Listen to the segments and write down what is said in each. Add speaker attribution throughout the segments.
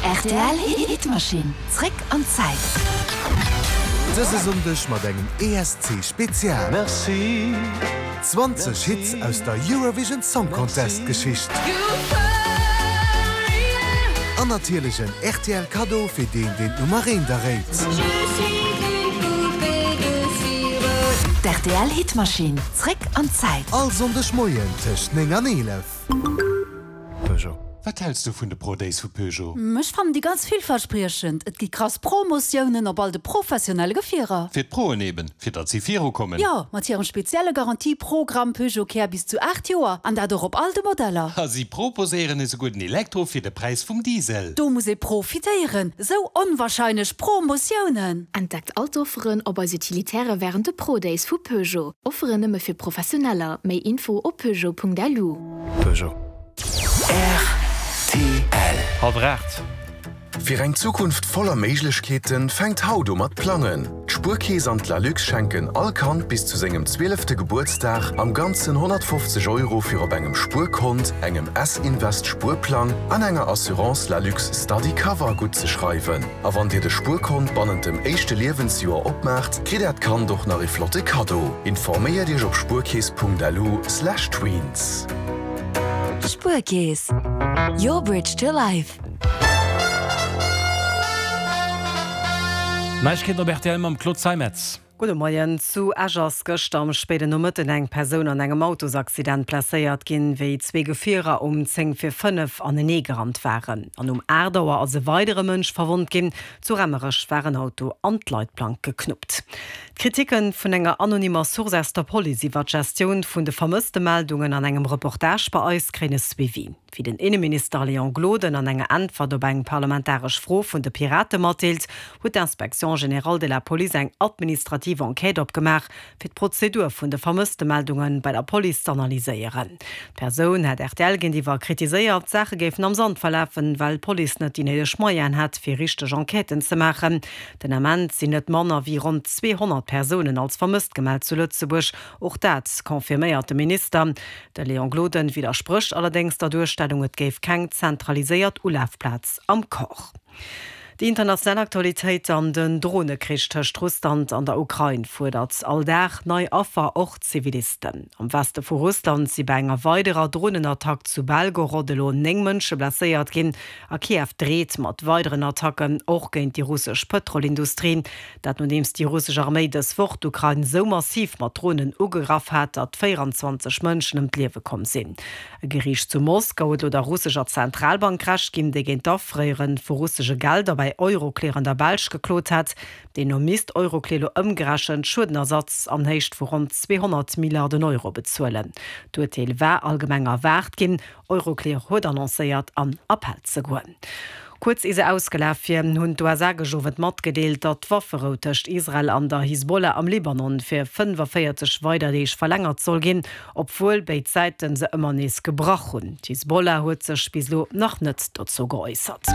Speaker 1: Rtl Hitmachine, zréck an d'Zäit.
Speaker 2: Dëse Sonndeg mat engem ESC Spezial. 20 Hits aus der Eurovision Song Contest Geschicht. An natierlech en rtl Kaddo fir deen deen d'Nummer eent erréit.
Speaker 1: D'RTL Hitmachine, zréck an d'Zäit.
Speaker 2: All Sonndeg Moien tëscht 9 an 11.
Speaker 3: Peugeot. Wat häls du vun de Pro Days vu Peugeot?
Speaker 4: Ech fannen déi ganz villverspriechend. Et gi krass Promotiounen op all de professionelle Gefierer.
Speaker 3: Fir d'Proen eben, fir datt si viru kommen.
Speaker 4: Jo, mat hirem spezielle Garantie-Programm Peugeot Care bis zu 8 Joer, an dat och op all de Modeller.
Speaker 3: A si proposéieren esouguer den Elektro fir de Präis vum Diesel.
Speaker 4: Do muss ee profitéieren, esou onwahrscheinlech Promotiounen!
Speaker 5: Entdeckt all d'Offeren op eis Utilitaire wärend de Pro Days vu Peugeot. Offeren nëmme fir Professioneller. Méi Info op peugeot.lu.
Speaker 2: Peugeot.
Speaker 6: Rtl.
Speaker 7: Halwer 8.
Speaker 6: Fir eng Zukunft voller Méiglechkeeten fänkt haut u mat plangen. D'Spuerkeess an d'Lalux schenken all Kand bis zu sengem zwielefte Gebuertsdag am Ganzen 150 Euro fir op engem Spuerkont, engem S-Invest Spuerplang an enger Assurance Lalux Study Cover guttzeschreiwen. A wann dir de Spuerkont bannent dem éischte Liewensjoer opmaacht, kritt äert Kand och nach ee flotte Kaddo. Informéiert iech op spuerkeess.lu/tweens.
Speaker 1: Spuerkeess, your bridge to life.
Speaker 7: Neiegkeeten op rtl mam Claude Zeimetz.
Speaker 8: Gudde Moien. Zu Esch ass gëschter am spéiden Nomëtten eng Persoun an engem Autosaccident blesséiert ginn, wéi zwee Gefierer um 10 vir 5 anenee gerannt waren. An um 8 Auer ass e weidere Mënsch verwonnt ginn. Zu Remmerech war en Auto an d'Leitplank geknuppt. D'Kriticke vun enger anonymer Source aus der Police iwwer d'Gestioun vun de Vermësstemeldungen an engem Reportage bei eis kréien e Suivi. Wéi den Inneminister Léon Gloden an enger Äntwert op eng parlamentaresch Fro vun de Pirate matdeelt, huet d'Inspection générale de la Police eng administrativ Enquête opgemaach, fir d'Prozedur vun de Vermësstemeldunge bei der Police z'analyséieren. D'Persoun hätt rtl géintiwwer kritiséiert, d'Saache géifen am Sand verlafen, well d'Police net déi néideg Moyenen hätt, fir richteg Enquêten ze maachen. Den Ament sinn net manner wéi ronn 200 Persounen als vermësst gemellt zu Lëtzebuerg. Och dat confirméiert de Minister. De Léon Gloden widdersprécht allerdéngs der Duerstellung, et géif keng zentraliséiert Ulafplaz am Corps. Déi international Aktualitéit an den Dronekrich tëscht Russland an der Ukrain fuerdert all Dag nei Affer, och Zivilisten. Am Weste vu Russland si bei enger weiderer Dronenattack zu Belgorod elo 9 Mënsche blesséiert ginn. A Kiew dreet mat weideren Attacken, och géint déi russesch Pëtrolindustrie. Dat nodeems déi russesch Arméi dës Woch d'Ukrain sou massiv mat Dronen ugegraff hat, datt 24 Mënschen ëm d'Liewe komm sinn. E Geriicht zu Moskau huet elo der russescher Zentralbank Recht ginn, déi géint d'Afréiere vu russesche Gelder bei Euroclear an der Belsch geklot hat. Deemno misst Euroclear elo ëmgerechent Schuedenersatz an Héicht vu ronn 200 Milliarden Euro bezuelen. D'Urteel war allgemeng erwaart ginn. Euroclear huet annoncéiert, an Appell ze goen. Kuerz ier se ausgelaf wier, hunn d'USA gëscht Owend matgedeelt, datt d'Wafferou tëscht Israel an der Hisbollah am Libanon fir 45 weider Deeg verlängert soll ginn, obwuel béid Säite se ëmmer nees gebrach hunn. D'Hisbollah huet sech bis elo nach net dozou geäussert.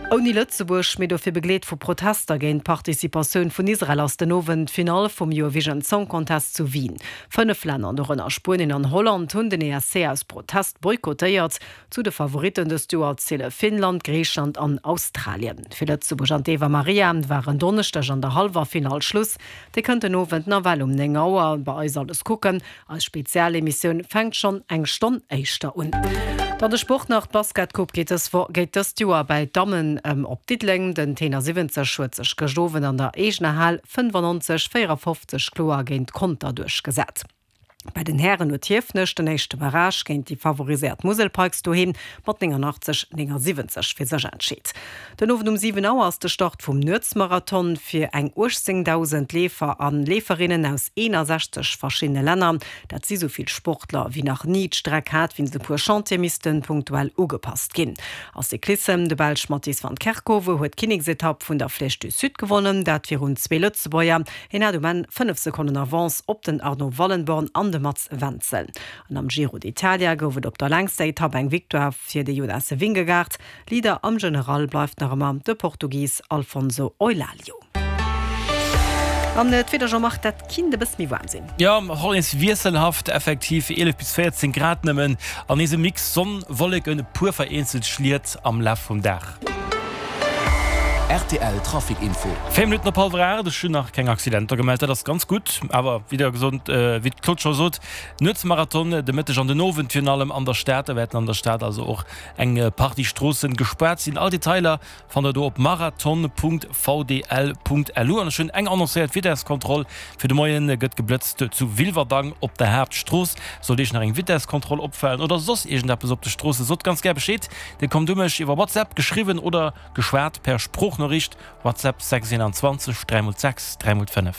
Speaker 8: Ouni Lëtzebuerg, mee dofir begleet vu Protester géint d'Participatioun vun Israel ass den Owend d'Finall vum Eurovision Song Contest zu Wien. Fënnef Länner, dorënner Spuenien an Holland, hunn den ESC aus Protest boykottéiert. Zu de Favoritten dëst Joer ziele Finnland, Griichland an Australien. Fir Lëtzebuerg an d'Eva Marija war en Donneschdeg an der hallwer Finall Schluss. Dir kënnt den Owend nawell um 9 Auer bei eis alles kucken. Eis Spezialemissioun fänkt schonn eng Stonn éischter un. Dann de Sport nach, D'Basketcoupe geet dës Wo geet dëst Joer bäi d'Dammen op Diddeleng. Den Tenor 70 huet sech gëscht Owend an der eegener Hal 95, 54 kloer géint Conter duerchgesat. Bei den Hären huet Hiefenech den éischte Barrage géint déi favoriséiert Musel Pikes doheem mat 89, 79 fir sech entscheet. Den Owend um 7 Auer ass de Start vum Nuetsmarathon fir eng 18.000 Leefer a Leeferinnen aus 61 verschiddene Länner. Dat si sou vill Sportler wéi nach ni. D'Streck hat wéinst e puer Chantiere misste punktuell ugepasst ginn. A Cyclissem, De Belsch Mathies van Kerkhove huet d'Kinneksetapp vun der Flèche du Sud gewonnen, dat virun zwee Lëtzebuerger. Hien hat um Enn 5 Sekonnen Avance op den Arno Wallenborn an de Mats Wenzel. An am Giro d'Italia gouf et op der längster Etapp eng Victoire fir de Jonas Vingegaard. Leader am General bleift nach ëmmer de Portugis Alfonso Eulalio. An d'Wieder, Jean-Marc, dat kinnt e bësse méi waarm sinn.
Speaker 7: Jo, och nees wiesselhaft, effektiv 11 bis 14 Grad nëmmen an nees e Mix Sonn, Wolleken, e puer vereenzelt Schliet am Laf vum Dag.
Speaker 9: Rtl Trafic Info.
Speaker 7: 4 Minutten op hallwer 8, ech hunn nach keng Accidenter gemellt, dat ass ganz gutt. Awer wéi der gesot, wéi d'Claude scho sot, Nuetsmarathon de Mëtteg an den Owend virun allem an der Stad. Da wäerten an der Stad also och eng Partie Stroossen gespaart sinn. All Detailer fannt der do op marathon.vdl.lu. An ech hunn eng annoncéiert Vitesskontroll fir de Moien. Gëtt geblëtzt zu Wilwerdang op der Haaptstrooss. Sollt Iech nach eng Vitesskontroll opfalen oder soss iergendeppes op de Stroossen, sot ganz gär Bescheed. Dir kommt u mech iwwer WhatsApp, geschriwwen oder geschwat per Sproochnoriicht, WhatsApp 6 21 3 x 6 3 x 5.